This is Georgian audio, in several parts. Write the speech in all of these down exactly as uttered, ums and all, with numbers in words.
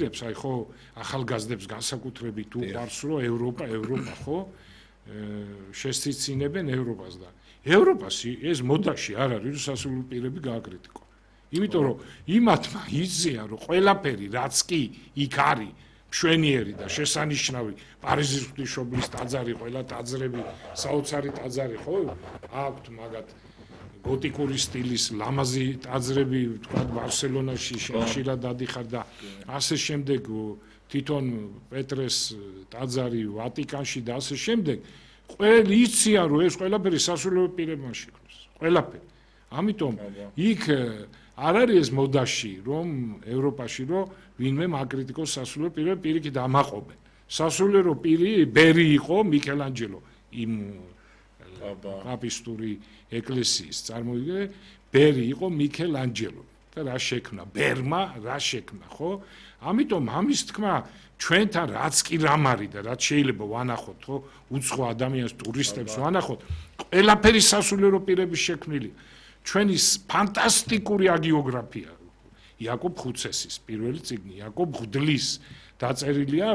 აი ხო ახალგაზრდებს განსაკუთრებით უყვარს რომ ევროპა ევროპა ხო შესწინებენ ევროპას და ევროპას ეს მოდაში არ არის რომ სასულიერო პირები გააკრიტიკო. იმიტომ რომ იმათმა იციან რომ ყველაფერი რაც კი იქ არის მშვენიერი და შესანიშნავი პარიზის ღვთისმშობლის ტაძარი ყველა ტაძრები საოცარი ტაძარი ხო აქვთ მაგათ გოტიკური სტილის ლამაზი ტაძრები თქვა ბარსელონაში ხშირად დადიხარ და ასე შემდეგ თვითონ პეტრეს ტაძარი ვატიკანში და ასე შემდეგ ყველ იციან რომ ეს ყველაფერი სასულიერო პირებმა შექმნეს ყველაფერი ამიტომ იქ არ არის ეს მოდაში რომ ევროპაში რომ ვინმე მაკრიტიკოს სასულიერო პირები პირიქით ამაყობენ სასულიერო პირი ბერი იყო მიქელანჯელო იმ პაპისტური ეკლესიის წარმოიდგინე ბერი იყო მიქელანჯელო და რა შექმნა ბერმა რა შექმნა ხო ამიტომ ამის თქმა ჩვენთან რაც კი რამ არის და რაც შეიძლება ვანახოთ ხო უცხო ადამიანს ტურისტებს ვანახოთ ყველაფერი სასულიერო პირების შექმნილი ჩვენი ფანტასტიკური აგიოგრაფია იაკობ ხუცესის პირველი წიგნი იაკობ ღვდლის დაწერილია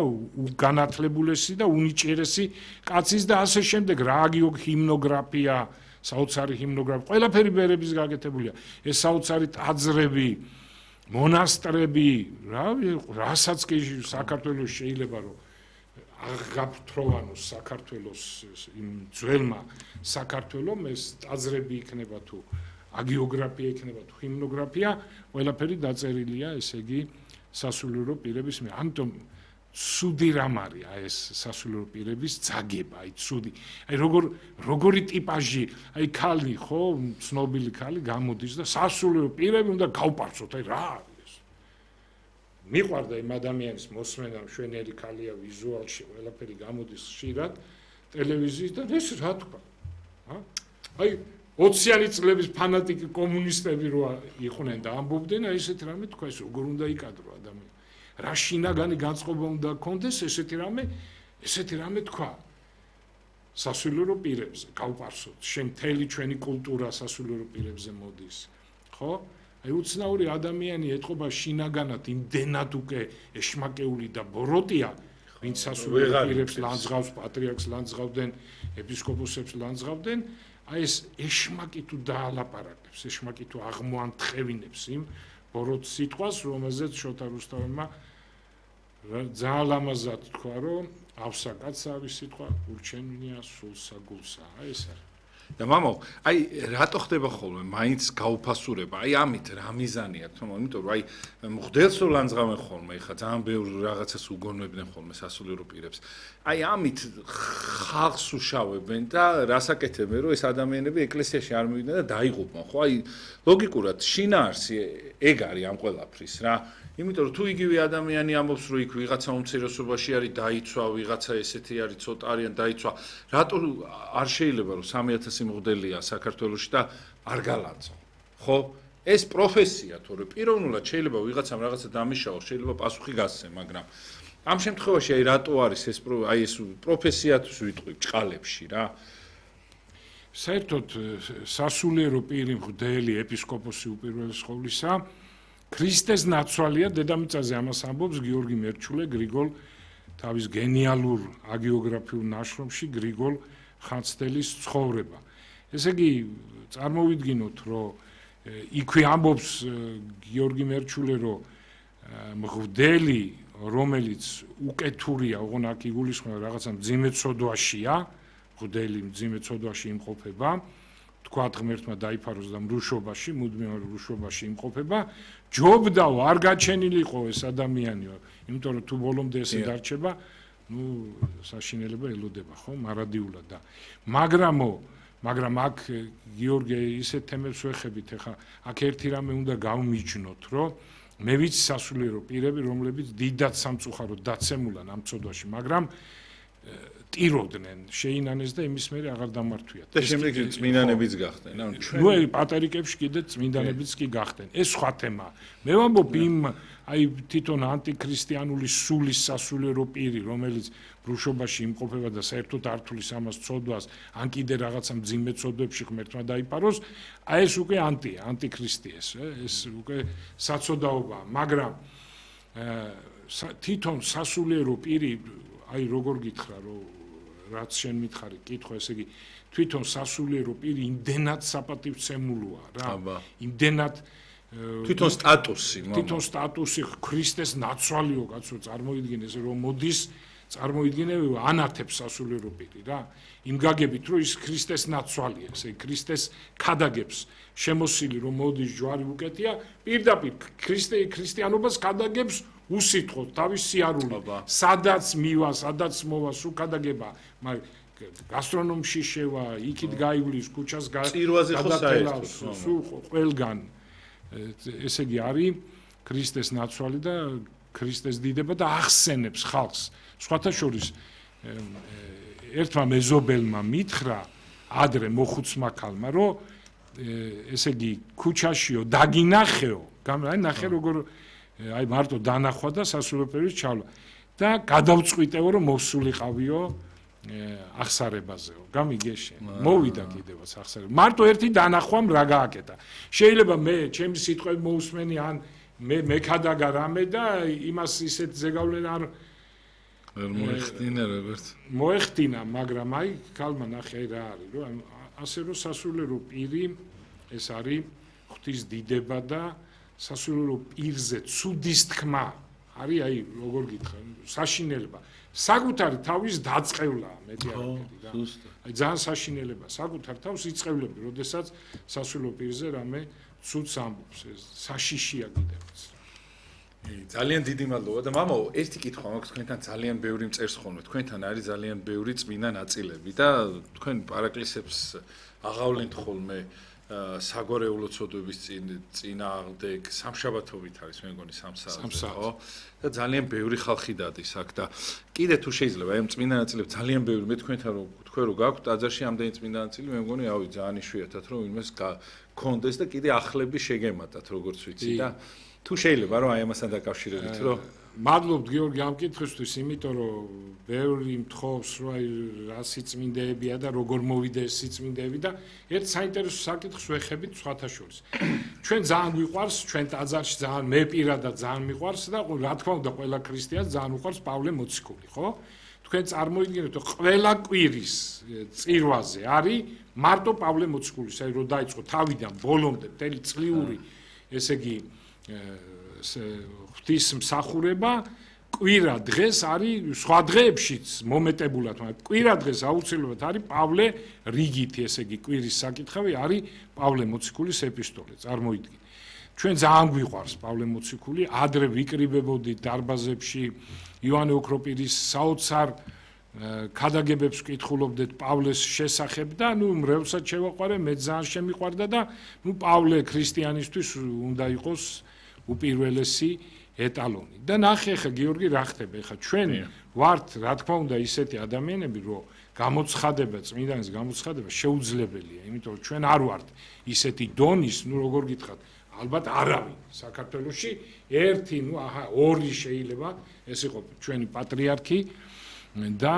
განათლებულესი და უნიჭიერესი კაცის და ასე შემდეგ რა აგიოგ ჰიმნოგრაფია საოცარი ჰიმნოგრაფია ყველაფერი ბერების გაკეთებულია ეს საოცარი ტაძრები მონასტრები რა რასაც კი საქართველოს შეიძლება რომ აღაფრთოვანოს საქართველოს იმ ძველმა საქართველომ ეს ტაძრები იქნება თუ აგიოგრაფია იქნება თუ ჰიმნოგრაფია ყველაფერი დაწერილია ესე იგი სასულიერო პირების მე ამიტომ ცუდი რამ არის აი ეს სასულიერო პირების ძაგება აი ცუდი აი როგორ როგორი ტიპაჟი აი ქალი ხო ცნობილი ქალი გამოდის და სასულიერო პირები უნდა გავპარცოთ აი რა არის ეს მიყვარდა იმ ადამიანის მოსმენა მშვენიერი ქალია ვიზუალში ყველაფერი გამოდის ხშირად ტელევიზიის და ეს რა თქვა აი ოციანი წლების ფანატიკი კომუნისტები რო იყვნენ და ამბობდნენ აი ესეთი რამე თქვა ეს როგორ უნდა იკადრო ადამიანი რა შინაგანი განწყობა უნდა ქონდეს ესეთი რამე ესეთი რამე თქვა სასულიერო პირებზე გავპარსოთ შენ მთელი ჩვენი კულტურა სასულიერო პირებზე მოდის ხო აი უცნაური ადამიანი ეთყობა შინაგანად იმდენად უკვე ეშმაკეული და ბოროტია ვინც სასულიერო პირებს ლანძღავს პატრიარქს ლანძღავდნენ ეპისკოპოსებს ლანძღავდნენ აი ეს ეშმაკი თუ დაალაპარაკებს ეშმაკი თუ აღმოანთხევინებს იმ ბოროტ სიტყვას რომელზეც შოთა რუსთაველმა ძალიან ლამაზად თქვა რომ ავსა კაცსა არის სიტყვა ურჩენია სულსა გულსა აი ეს არის და მამო აი რატო ხდება ხოლმე მაინც გაუფასურება აი ამით რა მიზანი აქვს თქო იმიტომ რომ აი მღვდელს რო ლანძღავენ ხოლმე ხა ძალიან ბევრ რაღაცას უგონებდნენ ხოლმე სასულიერო პირებს აი ამით ხალხს უშავებენ და რასაკეთებენ რომ ეს ადამიანები ეკლესიაში არ მივიდნენ და დაიღუპონ ხო აი ლოგიკურად შინაარსი ეგ არის ამ ყველაფრის რა იმიტომ რომ თუ იგივე ადამიანი ამბობს რომ იქ ვიღაცა უმცირესობაში არის დაიცვა ვიღაცა ესეთი არის ცოტა არიან დაიცვა რატო არ შეიძლება რომ სამი ათასი მღვდელია საქართველოში და არ გალანძღო ხო ეს პროფესია თორე პიროვნულად შეიძლება ვიღაცამ რაღაცა დამიშაოს შეიძლება პასუხი გასცენ მაგრამ ამ შემთხვევაში აი რატო არის ეს აი ეს პროფესიათვის ვიტყვი ჭყალებში რა საერთოდ სასულიერო პირი მღვდელი ეპისკოპოსი უპირველეს ყოვლისა ქრისტეს ნაცვალია დედამიწაზე ამას ამბობს გიორგი მერჩულე გრიგოლ თავის გენიალურ აგიოგრაფიულ ნაშრომში გრიგოლ ხანძთელის ცხოვრება ესე იგი წარმოვიდგინოთ რომ იქვე ამბობს გიორგი მერჩულე რომ მღვდელი რომელიც უკეთურია ოღონ აქ იგულისხმება რაღაცა მძიმე ცოდვაშია მღვდელი მძიმე ცოდვაში იმყოფება თქვათ ღმერთმა დაიფაროს და მრუშობაში მუდმივ მრუშობაში იმყოფება ჯობდაო არ გაჩენილიყო ეს ადამიანი იმიტომ რომ თუ ბოლომდე ესე დარჩება ნუ საშინელება ელოდება ხო მარადიულად და მაგრამო მაგრამ აქ გიორგი ისეთ თემებს ვეხებით ახლა აქ ერთი რამე უნდა გავმიჯნოთ რომ მე ვიცი სასულიერო პირები რომლებიც დიდად სამწუხაროდ დაცემულან ამ წოდვაში მაგრამ ტიროდნენ შეინანეს და იმის მერე აღარ დამართვიათ და შემდეგ წმინდანებიც გახდნენ ანუ ნუ აი პატერიკებში კიდე წმინდანებიც კი გახდნენ ეს სხვა თემაა მე ვამბობ იმ აი თვითონ ანტიქრისტიანული სულის სასულიერო პირი რომელიც ბრუშობაში იმყოფება და საერთოდ არ თulis ამას ცოდვას ან კიდე რაღაცა მძიმე ცოდვებში ღმერთმა დაიფაროს აი ეს უკვე ანტია ანტიქრისტი ეს ეს უკვე საცოდაობაა მაგრამ თვითონ სასულიერო პირი, აი როგორ გითხრა, რომ რაც შენ მითხარი, კითხვა, ესე იგი, თვითონ სასულიერო პირი იმდენად საპატივცემულოა რა. იმდენად თვითონ სტატუსი, თვითონ სტატუსი ქრისტეს ნაცვალიო კაცო წარმოიდგინეს, რომ მოდის წარმოიდგინე ანათებს სასულიერო პირი რა. იმ გაგებით, რომ ის ქრისტეს ნაცვალია, ესე იგი, ქრისტეს ქადაგებს შემოსილი, რომ მოდის ჯვარი უკეთია, პირდაპირ ქრისტე ქრისტიანობას ქადაგებს უსიტყვოდ თავის სიარულით. სადაც მივა, სადაც მოვა, სულ ქადაგება, მაგრამ გასტრონომში შევა, იქით გაივლის, ქუჩას გადატელავს, სულ ყველგან. ესე იგი, არის ქრისტეს ნაცვალი და ქრისტეს დიდება და ახსენებს ხალხს. სხვათა შორის ერთმა მეზობელმა მითხრა ადრე მოხუცმა ქალმა, რომ ესე იგი, ქუჩაშიო დაგინახეო, აი ნახე როგორ აი მარტო დანახვა და სასულიერო პირის ჩავლა და გადავწყვიტეო, რომ მოსულიყავიო აღსარებაზეო. გამიგეშე. მოვიდა კიდევაც აღსარება. მარტო ერთი დანახვამ რა გააკეთა. შეიძლება მე ჩემი სიტყვები მოусმენი ან მე მექადაგა რამე და იმას ისეთ ზეგავლენ არ მოეხდინა როგორც მოეხდინა, მაგრამ აი ქალმა ნახე აი რა არის, რომ ასე რომ სასულიერო პირი ეს არის ღვთის დიდება და სასულიერო პირზე ცუდის თქმა არის აი როგორ გითხრა, საშინელება. საკუთარი თავის დაწყევლაა მეტი არ ვქედი რა. აი ძალიან საშინელება, საკუთარ თავს იწევლები, როდესაც სასულიერო პირზე რამე ცუდს ამბობს, ეს საშიშია კიდევაც. ძალიან დიდი მადლობა და მამაო, ერთი კითხვა მაქვს, თქვენთან ძალიან ბევრი მწერს ხოლმე, თქვენთან არის ძალიან ბევრი წმინდა ნაწილები და თქვენ პარაკლისებს აღავლენთ ხოლმე საგვარეულო ცოდვების წინააღმდეგ, სამშაბათობით არის მე მგონი სამსაათზე, ხო? და ძალიან ბევრი ხალხი დადის აქ და კიდე თუ შეიძლება აი ამ წმინდა ნაწილებს ძალიან ბევრი მე თქვენთან რომ თქვენ რო გაქვთ ტაძარში ამდენი წმინდა ნაწილი მე მგონი ავი ძალიან იშვიათად რომ იმას გქონდეს და კიდე ახლები შეგემატათ როგორც ვიცი და თუ შეიძლება რომ აი ამასთან დაკავშირებით რომ მადლობთ გიორგი ამ კითხვისთვის, იმიტომ რომ ბევრი მთხოვს რომ აი რა სიწმინდეებია და როგორ მოვიდა ეს სიწმინდეები და ერთ საინტერესო საკითხს ვეხებით სხვათა შორის. ჩვენ ძალიან გვიყვარს, ჩვენ ტაძარში ძალიან მე პირადად ძალიან მიყვარს და რა თქმა უნდა ყველა ქრისტიანს ძალიან უყვარს პავლე მოციქული, ხო? თქვენ წარმოიდგინეთ რომ ყველა კვირის წირვაზე არის მარტო პავლე მოციქულის, აი რომ დაიწყო თავიდან ბოლომდე მთელი წლიური, ესე იგი ღვთის მსახურება კვირა დღეს არის სხვა დღეებშიც მომეტებულად, მაგრამ კვირა დღეს აუცილებლად არის პავლე რიგითი, ესე იგი კვირის საკითხავი არის პავლე მოციქულის ეპისტოლე, წარმოიდგინე. ჩვენ ძალიან გვიყვარს პავლე მოციქული, ადრე ვიკრიბებოდით დარბაზებში ივანე ოქროპირის საოცარ ქადაგებებს ვკითხულობდით პავლეს შესახებ და ნუ მრევლსაც შევაყვარე, მე ძალიან შემიყვარდა და ნუ პავლე ქრისტიანისთვის უნდა იყოს უპირველესი ეტალონი. და ნახე ხა გიორგი რა ხდება, ხა ჩვენ ვართ რა თქმა უნდა ისეთი ადამიანები, რომ გამოცხადება, წმინდანის გამოცხადება შეუძლებელია, იმიტომ რომ ჩვენ არ ვართ ისეთი დონის, ნუ როგორ გითხრათ, ალბათ არავინ საქართველოში ერთი, ნუ აჰა, ორი შეიძლება ეს იყო ჩვენი პატრიარქი და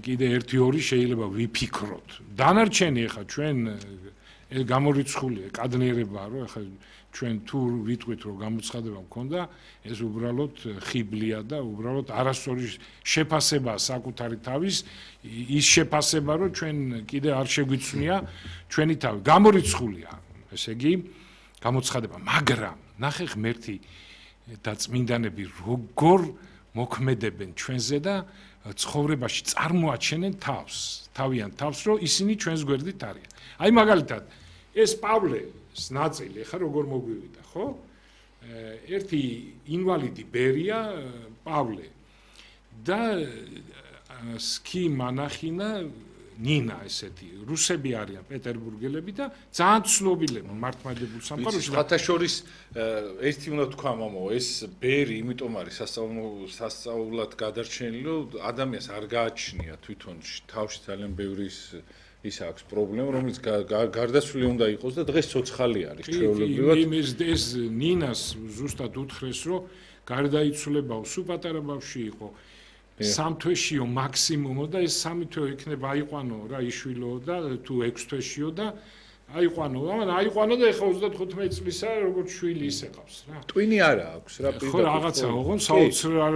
კიდე ერთი ორი შეიძლება ვიფიქროთ. დანარჩენი ხა ჩვენ გამორიცხულია კადნიერება, რომ ხა ჩვენ თუ ვიტყვით რომ გამოცხადება მქონდა, ეს უბრალოდ ხიბლია და უბრალოდ არასწორი შეფასება საკუთარი თავის, ის შეფასება რომ ჩვენ კიდე არ შეგვიცნია ჩვენი თავი. გამორიცხულია, ესე იგი, გამოცხადება, მაგრამ ნახე ღმერთი და წმინდანები როგორ მოქმედებენ ჩვენზე და ცხოვრებაში წარმოაჩენენ თავს, თავიან თავს, რომ ისინი ჩვენს გვერდით არიან. აი მაგალითად, ეს პავლეს ნაწილი ხა როგორ მოგვივიდა, ხო? ერთი ინვალიდი ბერია პავლე და სკი მანახინა ნინა ესეთი რუსები არიან პეტერბურგელები და ძალიან ცნობილები მართლმადიდებლურ სამყაროში. სხვათა შორის ერთი უნდა თქვა მამაო, ეს ბერი იმიტომ არის სასწაულად გადარჩენილი, რომ ადამიანს არ გააჩნია თვითონ თავში ძალიან ბევრი ის აქვს პრობლემა, რომელიც გარდაცვლილი უნდა იყოს და დღეს ცოცხალი არის ჩვეულებრივად. იმის ეს ნინას ზუსტად უთხრეს, რომ გარდაიცვლებაო, სულ პატარა ბავშვი იყო. სამ თვეშიო მაქსიმუმო და ეს სამი თვე იქნება აიყვანო რა იშვილო და თუ ექვს თვეშიო და აიყვანო, მაგრამ აიყვანო და ეხლა ოცდათხუთმეტი წლისა როგორც შვილი ისე ყავს რა. ტვინი არა აქვს რა ხო რაღაცა ოღონ საოცრ